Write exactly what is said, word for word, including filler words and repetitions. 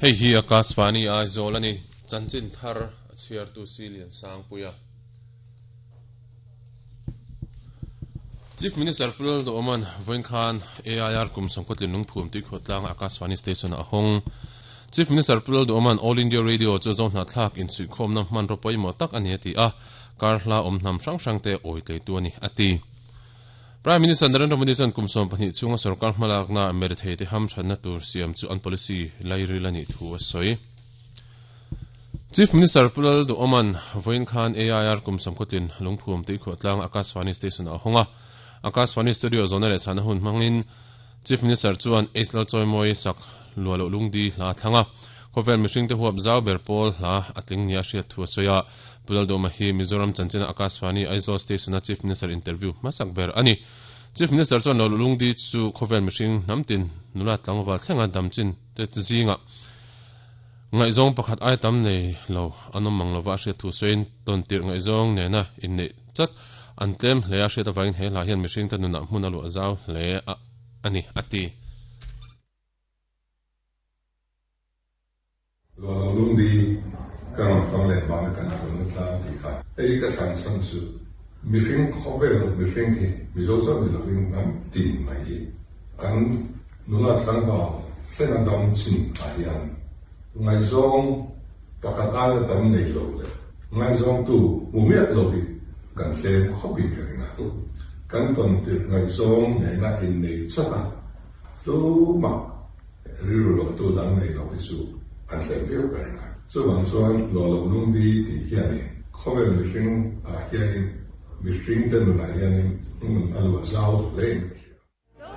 Hei hi Akashvani Aizawl ani chanchin thar a chhiar tu Silian Sangpuia. Chief Minister Pulal Do Oman Voin Khan A I R kum sangkotlin lungphum tui khawtlang Akashvani Station a hawng. Chief Minister Pulal Do Oman All India Radio chu zo hna thlak in suikhawm na hman ropui maw tak ani ati a karhla awm hnam hrang hrang te awi tlei tu ani ati. Prime Minister Narendra Modi chuan kum sawm pahnih chunga sarkar hmalakna merthei te ham thatna tur siam chu an policy lairil ani thu a sawi. Chief Minister Pulal Do Oman Voin Khan A I R kum sangkotlin lungphum tui khawtlang Akashvani Station a hawnga. Akashvani Studio zona leh chhana hun hmangin Chief Minister chuan Aisla Choimoi sak lualo lungdi hla thlanga khovel mihring te huap zau ber pawl hla atling nia hriat thu a sawi a. Pulal Do Oman hi Mizoram chanchina Akashvani Aizawl Station a Chief Minister interview hmasak ber ani. Chief Minister chuan lo lungdi chu khovel mihring hnamtin nula tlangwal thlenga damchin te zinga ngaihzawng pakhat ai tam nei lo anom mang lova hriat thu sawiin tawn tirh ngaihzawng nena in nei chat an tlem hle a hriat avangin he hla hian mihring te nunah hmun a luah zau hle a ani ati. Lo lungdi ka rawn fang leh vang kan thlun tlang ti kha hei ka thlan san chu mihring khawvel mihring hi Mizo chauh ni lovin hnam tin mai hi kan nula tlangval thlenga dam chin ah hian ngaihzawng pakhat aia tam nei lo leh ngaihzawng tu hmu miah lo hi kan tlem khawpin ka ring a. Kan tawn tirh ngaihzawng nena in nei chat a tumah rilru lo tu dang nei lo hi chu an tlem viau ka ring a. Chuvang chuan lo lo lungdi tih hianin khawvel mihring ah hianin mihring te nunah hianin hmun a luah zau hlein